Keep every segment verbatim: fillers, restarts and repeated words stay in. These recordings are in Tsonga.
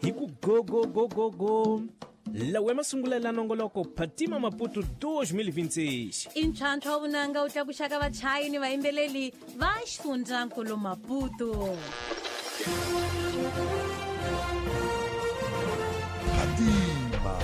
Hi ku go go go go go. Lawa masungulela nongoloko Phatima Maputo dois mil e vinte e seis. I ntlhantlho wa vunanga wu tlakuxaka vachayi ni vayimbeleri va xifundzankulu Maputo. Phatima.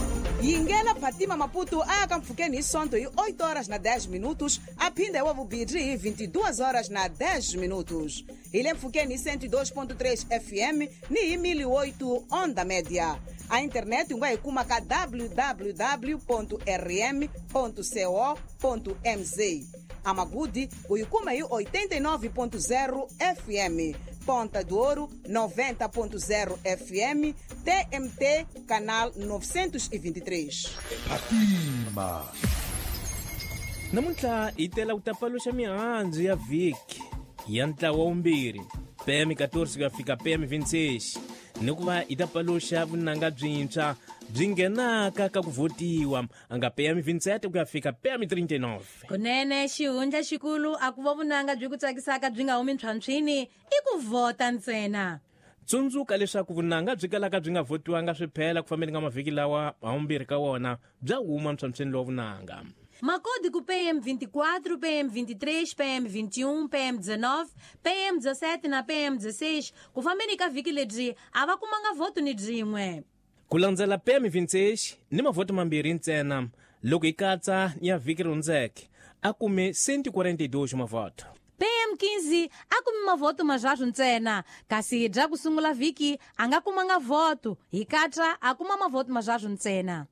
Yingela Phatima Maputo a ya ka mpfhukeni hi Sonto hi oito horas na dez minutos, a phinda wa vumbirhi hi vinte e duas horas na dez minutos. Hi le mpfhukeni hi cento e dois ponto três F M ni hi mil e oito onda média. A internet u nga yi kuma ka w w w ponto r m ponto co ponto m z. A Magudi u yi kuma hi oitenta e nove ponto zero F M. Ponta do Ouro noventa ponto zero F M, T M T canal novecentos e vinte e três. Phatima. Namuntlha hi tela ku ta paluxa mihandzu ya vhiki ya ntlawa wumbirhi P M quatorze ku ya fika P M vinte e seis ni ku va hi ta paluxa vunanga byintshwa byi nghenaka ka ku votiwa a nga P M vinte e sete ku ya fika P M trinta e nove. Kunene xihundla xikulu a ku va vunanga byi ku tsakisaka byi nga humi ntlhwantlhwini i ku vhota ntsena. Tsundzuka leswaku vunanga byi kalaka byi nga votiwanga swi phela ku fambeni ka mavhiki lawa haumbirhi ka wona bya huma ntlhwantlhwini lowa vunanga. Macódigo P M vinte e quatro, P M vinte e três, P M vinte e um, P M dezenove, P M dezessete na P M dezesseis ku fambeni ka vhiki lebyi a va kumanga voto ni byin'we. Ku landzela P M vinte e seis ni mavhoto mambirhi ntsena loko hi katsa ya vhiki ri hundzeke a kume cento e quarenta e dois mavhoto. P M quinze a kume mavhoto marharhu ntsena kasi bya ku sungula vhiki a nga kumanga voto hi katsa a kuma mavhoto marharhu ntsena.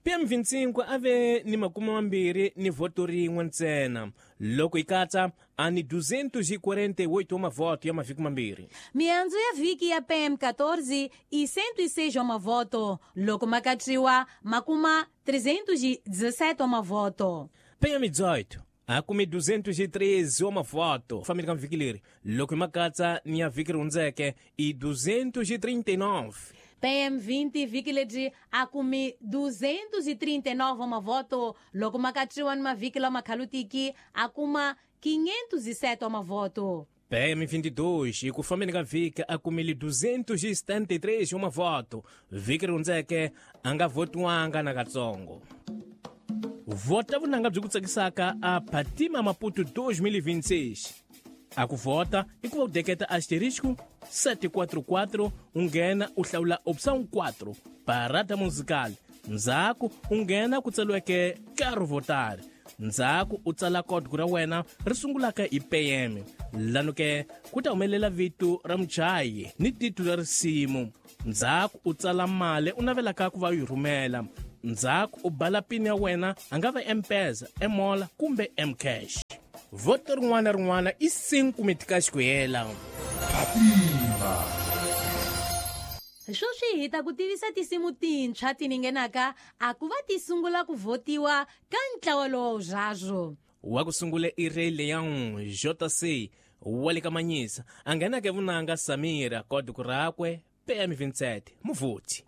P M vinte e cinco a ve ni makume mambirhi ni voto rin'we ntsena loko hi katsa a ni duzentos e quarenta e oito mavoto ya mavhiki mambirhi. Mihandzu ya vhiki ya P M quatorze i cento e seis mavoto loko ma katsiwa ma kuma trezentos e dezessete mavoto. P M dezoito a kume duzentos e treze mavoto fambeni ka vhiki leri loko hi ma katsa ni ya vhiki ri hundzeke i duzentos e trinta e nove. P M vinte vhiki lebyi a kume duzentos e trinta e nove mavoto loko ma katsiwa ni mavhiki lama khalutiki a kuma quinhentos e sete mavoto. P M vinte e dois hi ku fambeni ka vhiki a kumile duzentos e setenta e três mavoto vhiki ri hundzeke a nga votiwanga nakatsongo. Vota vunanga byi ku tsakisaka a Phatima Maputo dois mil e vinte e seis. A ku vota i ku va u deketa asterisco sete quatro quatro u nghena u hlawula opção quatro parada musical ndzhaku u nghena ku tsariweke Quero votar ndzhaku u tsala código ra wena ri sungulaka hi P M lano ke ku ta humelela vito ra muchayi ni titulu ra risimu ndzhaku u tsala mali u navelaka ku va u yi rhumela ndzhaku u bala pin ya wena a nga va M-Pesa, M-Mola kumbe M-Cash. Voto rin'wana na rin'wana i cinco mitikaxi ku hela. Phatima. Sweswi hi ta ku tivisa tinsimu tintshwa ti nghenaka a ku va ti sungula ku votiwa ka ntlawa lowu zwazo. Wa ku sungula i Ray Leon J C wa le ka Manyisa a nghenaka vunanga Samira kodi ku rakwe P M vinte e sete muvhoti.